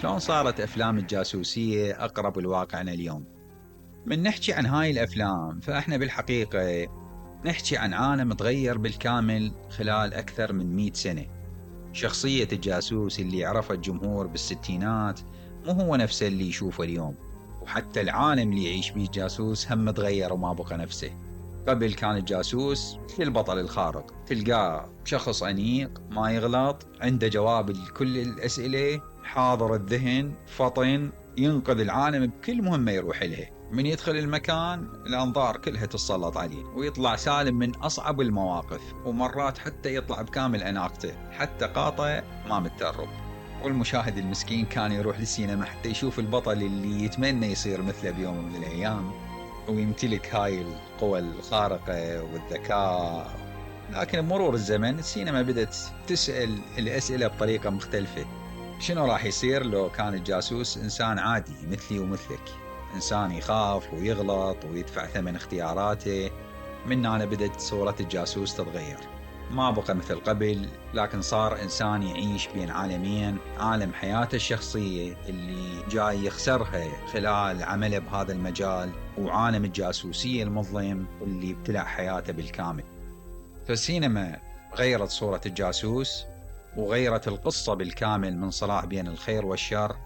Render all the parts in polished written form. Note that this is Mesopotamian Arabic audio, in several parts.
شلون صارت أفلام الجاسوسية أقرب لواقعنا اليوم؟ من نحكي عن هاي الأفلام فإحنا بالحقيقة نحكي عن عالم تغير بالكامل خلال أكثر من 100 سنة. شخصية الجاسوس اللي عرفه الجمهور بالستينات مو هو نفسه اللي يشوفه اليوم، وحتى العالم اللي يعيش بيه الجاسوس هم تغير وما بقى نفسه. قبل كان الجاسوس البطل الخارق، تلقاه شخص أنيق ما يغلط، عنده جواب لكل الأسئلة، حاضر الذهن، فطن، ينقذ العالم بكل مهمة يروح لها. من يدخل المكان الأنظار كلها تتسلط عليه ويطلع سالم من أصعب المواقف، ومرات حتى يطلع بكامل أناقته، حتى قاطع ما متدرب. والمشاهد المسكين كان يروح للسينما حتى يشوف البطل اللي يتمنى يصير مثله بيوم من الأيام ويمتلك هاي القوى الخارقة والذكاء. لكن بمرور الزمن السينما بدأت تسأل الأسئلة بطريقة مختلفة. شنو راح يصير لو كان الجاسوس إنسان عادي مثلي ومثلك، إنسان يخاف ويغلط ويدفع ثمن اختياراته؟ من هنا بدأت صورة الجاسوس تتغير، ما بقى مثل قبل، لكن صار إنسان يعيش بين عالمين، عالم حياته الشخصية اللي جاي يخسرها خلال عمله بهذا المجال، وعالم الجاسوسية المظلم اللي ابتلع حياته بالكامل. فالسينما غيرت صورة الجاسوس وغيرت القصة بالكامل من صراع بين الخير والشر،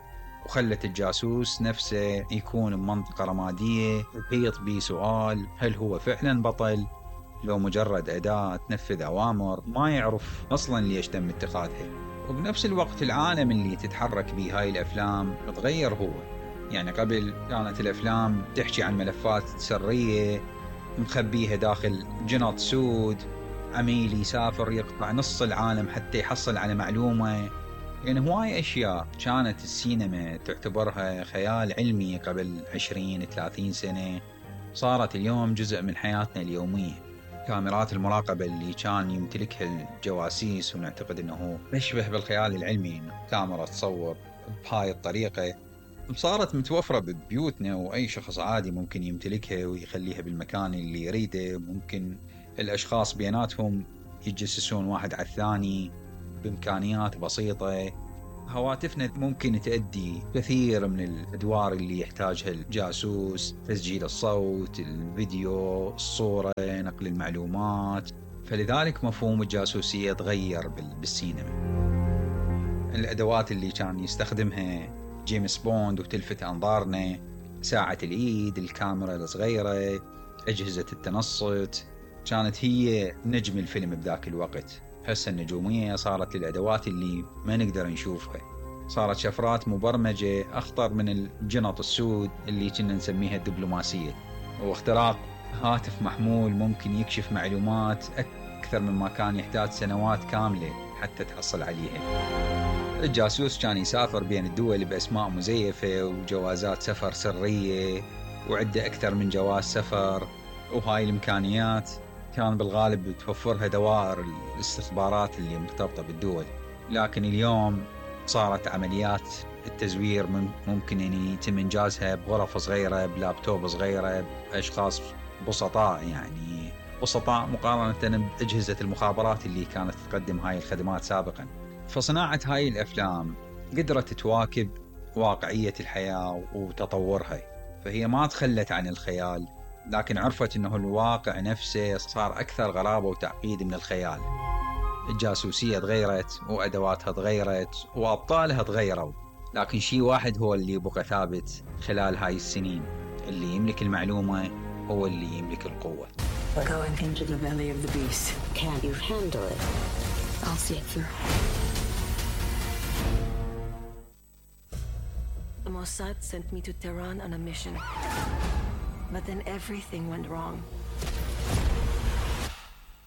وخلت الجاسوس نفسه يكون بمنطقة رمادية يحيط به سؤال: هل هو فعلا بطل لو مجرد أداة تنفذ أوامر ما يعرف أصلا ليش تم اتخاذها؟ وبنفس الوقت العالم اللي تتحرك به هاي الأفلام تغير هو. يعني قبل كانت الأفلام تحكي عن ملفات سرية مخبيها داخل جنط سود، عميل يسافر يقطع نص العالم حتى يحصل على معلومة. يعني هواي أشياء كانت السينما تعتبرها خيال علمي قبل 20-30 سنة صارت اليوم جزء من حياتنا اليومية. كاميرات المراقبة اللي كان يمتلكها الجواسيس ونعتقد أنه تشبه بالخيال العلمي، أنه كاميرا تصور بهاي الطريقة، صارت متوفرة ببيوتنا، وأي شخص عادي ممكن يمتلكها ويخليها بالمكان اللي يريده. ممكن الأشخاص بيناتهم يتجسسون واحد على الثاني بإمكانيات بسيطة. هواتفنا ممكن تؤدي كثير من الأدوار اللي يحتاجها الجاسوس: تسجيل الصوت، الفيديو، الصورة، نقل المعلومات. فلذلك مفهوم الجاسوسية تغير بالسينما. الأدوات اللي كان يستخدمها جيمس بوند وتلفت أنظارنا: ساعة الإيد، الكاميرا الصغيرة، أجهزة التنصت، كانت هي نجم الفيلم بذاك الوقت. هسه النجومية صارت للأدوات اللي ما نقدر نشوفها، صارت شفرات مبرمجة أخطر من الجنط السود اللي كنا نسميها الدبلوماسية. واختراق هاتف محمول ممكن يكشف معلومات أكثر مما كان يحتاج سنوات كاملة حتى تحصل عليها. الجاسوس كان يسافر بين الدول بأسماء مزيفة وجوازات سفر سرية، وعنده أكثر من جواز سفر. وهاي الإمكانيات كان بالغالب توفرها دوائر الاستخبارات اللي مرتبطة بالدول. لكن اليوم صارت عمليات التزوير ممكن يعني يتم إنجازها بغرف صغيرة، بلابتوب صغيرة، بأشخاص بسطاء، يعني بسطاء مقارنة بأجهزة المخابرات اللي كانت تقدم هاي الخدمات سابقا. فصناعة هاي الأفلام قدرت تواكب واقعية الحياة وتطورها، فهي ما تخلت عن الخيال، لكن عرفت أنه الواقع نفسه صار أكثر غرابة وتعقيد من الخيال. الجاسوسية تغيرت وأدواتها تغيرت وأبطالها تغيروا، لكن شيء واحد هو اللي بقى ثابت خلال هاي السنين: اللي يملك المعلومة هو اللي يملك القوة. We're going into the belly of the beast. Can you handle it? I'll see it through. The Mossad sent me to Tehran on a mission. But then everything went wrong.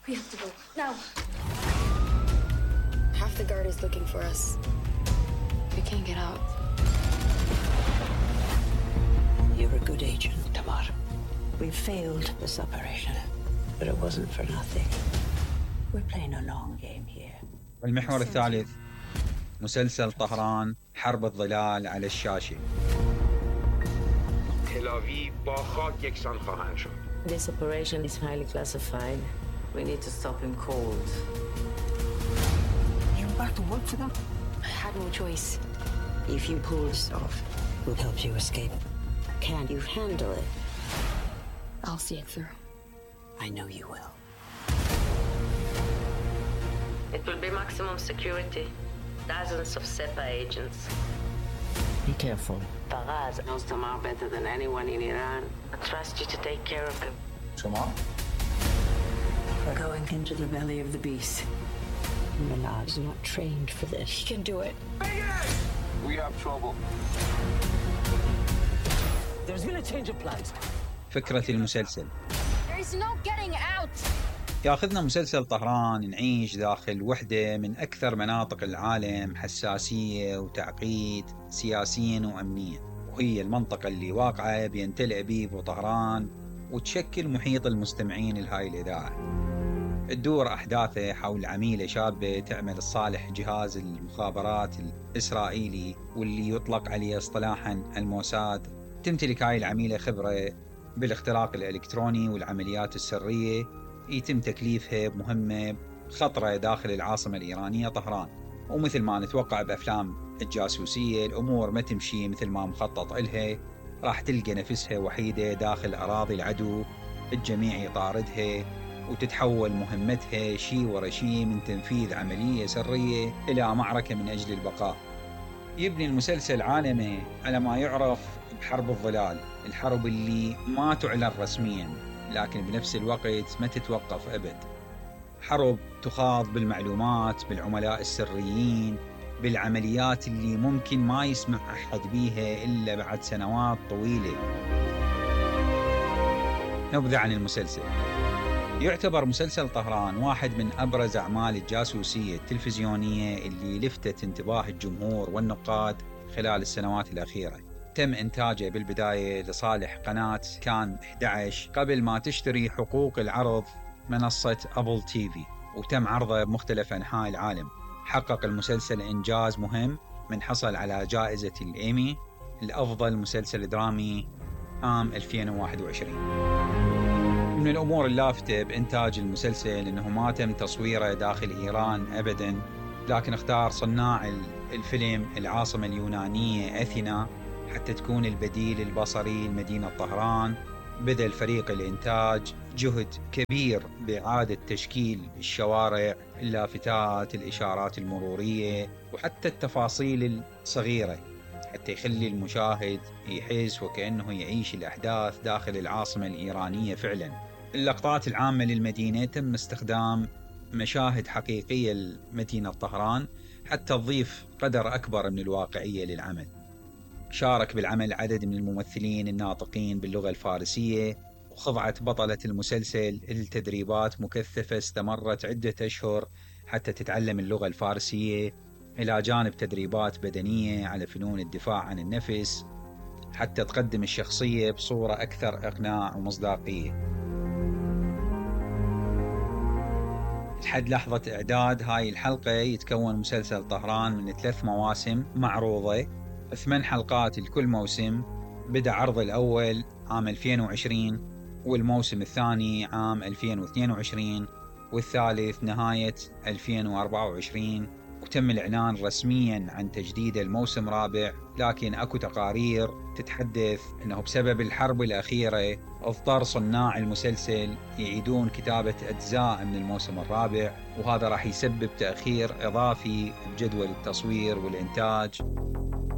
We have to go, now! Half the guard is looking for us. We can't get out. You're a good agent, Tamar. We failed this operation, but it wasn't for nothing. We're playing a long game here. المحور الثالث مسلسل طهران حرب الظلال على الشاشة. This operation is highly classified. We need to stop him cold. You back to work for them? I had no choice. If you pull this off, we'll help you escape. Can you handle it? I'll see it through. I know you will. It will be maximum security. Dozens of SEPA agents. Be careful. Faraz knows Tamar better than anyone in Iran. I trust you to take care of him. Tamar? We're going into the belly of the beast. Manav's not trained for this. He can do it. We have trouble. There's been a change of plans. فكرة المسلسل There's no getting out. ياخذنا مسلسل طهران نعيش داخل وحدة من أكثر مناطق العالم حساسية وتعقيد سياسيا وأمنيا، وهي المنطقة اللي واقعة بين تل أبيب وطهران وتشكل محيط المستمعين لهاي الإذاعة. تدور أحداثه حول عميلة شابة تعمل لصالح جهاز المخابرات الإسرائيلي واللي يطلق عليه اصطلاحا الموساد. تمتلك هاي العميلة خبرة بالاختراق الإلكتروني والعمليات السرية، يتم تكليفها بمهمة خطرة داخل العاصمة الإيرانية طهران. ومثل ما نتوقع بأفلام الجاسوسية الأمور ما تمشي مثل ما مخطط إلها، راح تلقى نفسها وحيدة داخل أراضي العدو، الجميع يطاردها وتتحول مهمتها شيء ورا شيء من تنفيذ عملية سرية إلى معركة من أجل البقاء. يبني المسلسل عالمه على ما يعرف بحرب الظلال، الحرب اللي ما تعلن رسميا لكن بنفس الوقت ما تتوقف أبد. حرب تخاض بالمعلومات، بالعملاء السريين، بالعمليات اللي ممكن ما يسمع أحد بيها إلا بعد سنوات طويلة. نبذة عن المسلسل. يعتبر مسلسل طهران واحد من أبرز أعمال الجاسوسية التلفزيونية اللي لفتت انتباه الجمهور والنقاد خلال السنوات الأخيرة. تم إنتاجه بالبداية لصالح قناة كان 11 قبل ما تشتري حقوق العرض منصة أبل تيفي، وتم عرضه بمختلف أنحاء العالم. حقق المسلسل إنجاز مهم من حصل على جائزة الإيمي لأفضل مسلسل درامي عام 2021. من الأمور اللافتة بإنتاج المسلسل أنه ما تم تصويره داخل إيران أبداً، لكن اختار صناع الفيلم العاصمة اليونانية أثينا حتى تكون البديل البصري لمدينة طهران. بذل فريق الإنتاج جهد كبير بإعادة تشكيل الشوارع، اللافتات، الإشارات المرورية، وحتى التفاصيل الصغيرة حتى يخلي المشاهد يحس وكأنه يعيش الأحداث داخل العاصمة الإيرانية فعلا. اللقطات العامة للمدينة تم استخدام مشاهد حقيقية لمدينة طهران حتى تضيف قدر أكبر من الواقعية للعمل. شارك بالعمل عدد من الممثلين الناطقين باللغة الفارسية، وخضعت بطلة المسلسل لتدريبات مكثفة استمرت عدة أشهر حتى تتعلم اللغة الفارسية، إلى جانب تدريبات بدنية على فنون الدفاع عن النفس حتى تقدم الشخصية بصورة أكثر إقناع ومصداقية. لحد لحظة إعداد هاي الحلقة يتكون مسلسل طهران من 3 مواسم معروضة، 8 حلقات لكل موسم. بدأ عرض الأول عام 2020 والموسم الثاني عام 2022 والثالث نهاية 2024، وتم الإعلان رسميا عن تجديد الموسم الرابع. لكن أكو تقارير تتحدث أنه بسبب الحرب الأخيرة اضطر صناع المسلسل يعيدون كتابة أجزاء من الموسم الرابع، وهذا راح يسبب تأخير إضافي بجدول التصوير والإنتاج.